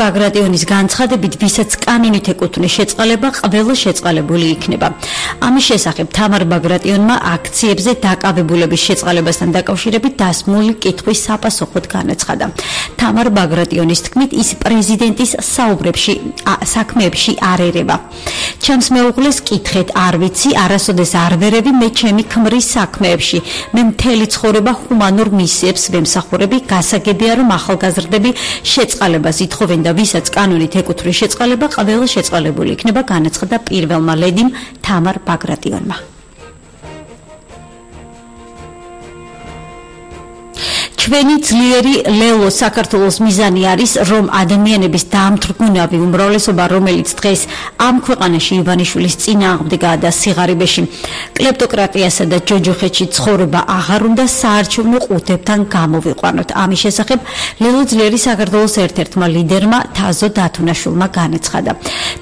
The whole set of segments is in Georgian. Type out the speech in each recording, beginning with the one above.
ბაგრატიონის განცხადებით, ვისაც კანონით ეკუთვნის შეწყალება, ყველა შეწყალებული იქნება. ამის შესახებ თამარ ბაგრატიონმა აქციებზე დაკავებულების შეწყალებასთან დაკავშირებით დასმული კითხვის საპასუხოდ განაცხადა. თამარ ბაგრატიონის თქმით, ის პრეზიდენტის საქმეებში არ ერევა. ჩემს მეუღლეს კითხეთ, არ ვიცი, არასოდეს არ ვერევი მე ჩემი ქმრის საქმეებში. მე მთელი ცხოვრება ჰუმანურ მისიებს ვემსახურები, გასაგებია რომ ახალგაზრდები შეწყალებას ითხოვენ და ვისაც კანონით ეკუთვნის შეწყალება, ყველა შეწყალებული იქნება, განაცხადა პირველმა ლედიმ თამარ ბაგრატიონმა. ჩვენი ძლიერი ლელო საქართველოს მიზანი არის, რომ ადამიანების დამთრგუნავი უმრავლესობა, რომელიც დღეს ამ ქვეყანაში ივანიშვილის წინააღმდეგაა და სიღარიბეში, კლეპტოკრატიასა და ჯოჯოხეთში ცხოვრება აღარ უნდა საარჩევნო ყუთებთან გამოვიყვანოთ. ამის შესახებ ლელო ძლიერი საქართველოს ერთ-ერთმა ლიდერმა თაზო დათუნაშვილმა განაცხადა.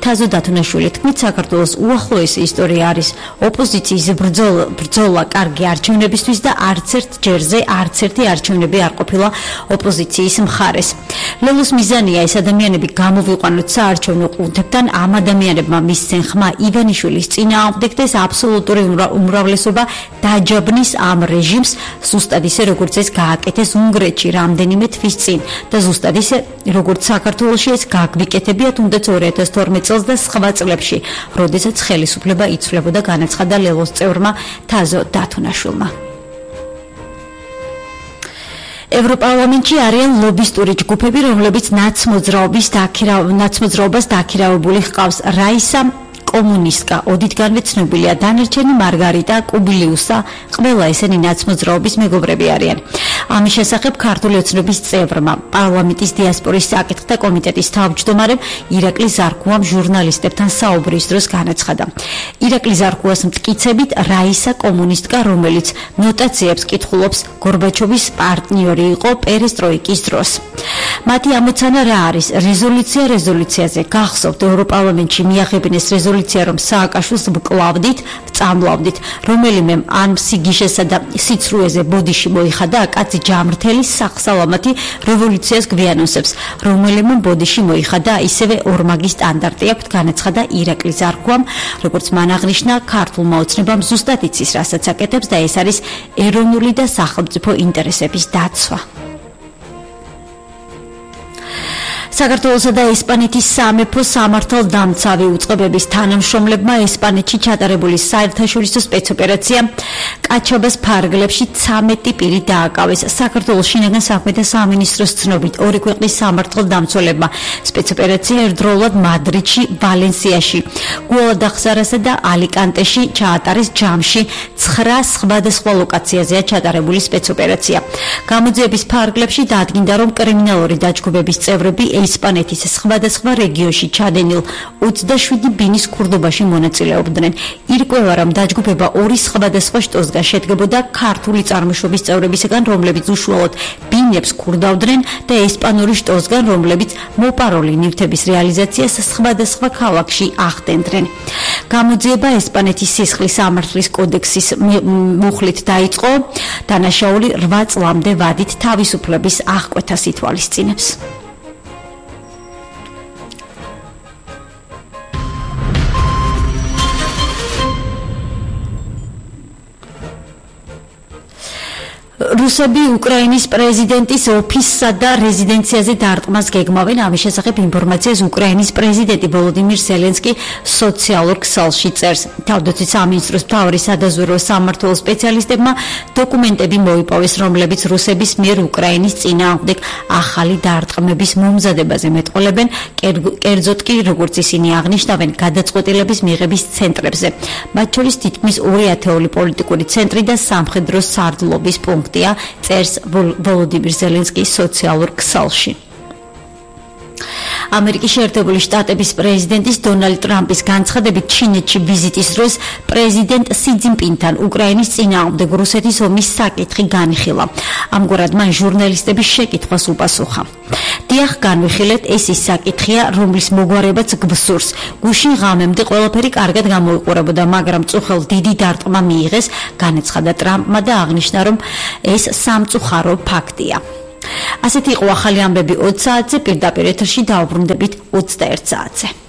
თაზო დათუნაშვილი თქმით, საქართველოს უახლოესი ისტორია არის ოპოზიციის ბრძოლა კარგი არჩევნებისთვის და არც ერთ ჯერზე არც ერთი არჩევნები არ ყოფილა ოპოზიციის მხარეს. ლელოს მიზანია ეს ადამიანები გამოვიყვანოთ საარჩევნო ყუთებთან, ამ ადამიანებმა მისცენ ხმა ივანიშვილის წინააღმდეგ და ეს აბსოლუტური უმრავლესობა დაჯაბნის ამ რეჟიმს, ზუსტად ისე როგორც ეს გააკეთეს უნგრეთში რამდენიმე თვის წინ და ზუსტად ისე როგორც საქართველოში ეს გაგვიკეთებია თუნდაც 2012 წელს და სხვა წლებში, როდესაც ხელისუფლება იცვლებოდა, განაცხადა ლელოს წევრმა თაზო დათუნაშვილმა. ევროპარლამენტში არიან ლობისტური ჯგუფები, რომლებიც ნაცმოძრაობას დაქირავებული ჰყავს. რაისა კომუნისტკა, ოდითგანვე ცნობილია, დანარჩენი მარგარიტა კუბილიუსა, ყველა ესენი ნაცმოძრაობის მეგობრები არიან. ამის შესახებ ქართული ოცნების წევრმა, პარლამენტის დიასპორის საკითხთა კომიტეტის თავმჯდომარემ ირაკლი ზარქუამ ჟურნალისტებთან საუბრის დროს განაცხადა. ირაკლი ზარქუას მტკიცებით, რაისა კომუნისტკა, რომელიც ნოტაციებს კითხულობს, გორბაჩოვის პარტნიორი იყო პერესტროიკის დროს. მათი ამოცანა რა არის? რეზოლუციაზე გახსოვთ, ევროპარლამენტში მიაღებინეს რეზოლუცია, რომ სააკაშვილს ვწამლავდით, რომელიმე ან სიგიშესა და სიცრუეზე ბოდიში მოიხადა, კაცი ჯამრთელი სახსალამათი რევოლუციას გვიანონსებს, რომელიმე ბოდიში მოიხადა, ისევე ორმაგი სტანდარტი აქვს, განაცხადა ირაკლი ზარქუამ, როგორც მან აღნიშნა, ქართულმა ოცნებამ ზუსტად იცის, რასაც აკეთებს და ეს არის ეროვნული და სახელმწიფო ინტერესების დაცვა. საქართველოსა და ესპანეთის სამეფო სამართალდამცავი უწყებების თანამშრომლებმა ესპანეთში ჩატარებული საერთაშორისო სპეცოპერაცია კაჩაბას ფარგლებში 13 პირი დააკავეს. საქართველოს შინაგან საქმეთა სამინისტროს ცნობით, ორი ქვეყნის სამართალდამცველებმა სპეცოპერაცია ერთდროულად მადრიდში, ვალენსიაში, გუადახარასა და ალიკანტეში ჩაატარეს. ჯამში 9 სხვადასხვა ლოკაციაზეა ჩატარებული სპეცოპერაცია. გამოძიების ფარგლებში დადგინდა, რომ კრიმინალური დაჯგუფების წევრები ესპანეთის სხვადასხვა რეგიონში ჩადენილ 27 ბინის ქურდობაში მონაწილეობდნენ. ირკვევა, რომ დაჯგუფება 2 სხვადასხვა შტოსგან შედგებოდა ქართული წარმოშობის წევრებისგან, რომლებიც უშუალოდ ბინებს ქურდავდნენ და ესპანური შტოსგან, რომლებიც მოპაროლი ნივთების რეალიზაციას სხვადასხვა ქალაქში ახდენდნენ. გამოძიება ესპანეთის სისხლის სამართლის კოდექსის მუხლით დაიწყო. დანაშაული 8 წლამდე ვადით თავისუფლების აღკვეთას ითვალისწინებს. რუსები უკრაინის პრეზიდენტის ოფისსა და რეზიდენციაზე დარტყმას გეგმავენ. ამის შესახებ ინფორმაციას უკრაინის პრეზიდენტი ვოლოდიმირ ზელენსკი სოციალურ ქსელში წერს. თავდაცვის სამინისტროს მთავარი სადაზვერვო სამმართველო სპეციალისტებმა დოკუმენტები მოიპოვეს, რომლებიც რუსების მიერ უკრაინის წინააღმდეგ ახალი დარტყმების მომზადებაზე მეტყოლებენ, კერძოდ კი, როგორც ისინი აღნიშნავენ, გადაწყვეტილების მიღების ცენტრებზე. მათ შორის თითქმის 2 ათეული პოლიტიკური ცენტრი და სამხედრო სარდლობის პუნქტი. წერს ვოლოდიმირ ზელენსკის სოციალურ ქსელში. ამერიკის შეერთებული შტატების პრეზიდენტის დონალდ ტრამპის განცხადებით, ჩინეთში ვიზიტის დროს პრეზიდენტ სი ძინპინთან უკრაინის წინააღმდეგ რუსეთის ომის საკითხი განიხილა. ამგვარად მან ჟურნალისტების შეკითხვას უპასუხა. დიახ, განვიხილეთ, ეს ის საკითხია, რომლის მოგვარებაც გვსურს. გუშინ ღამემდე ყველაფერი კარგად გამოიყურებოდა, მაგრამ წუხელ დიდი დარტყმა მიიღეს, განაცხადა ტრამპმა და აღნიშნა, რომ ეს სამწუხარო ფაქტია. ასეთი იყო ახალი ამბები 20 საათზე, პირდაპირ ეთერში დაუბრუნდებით 21 საათზე.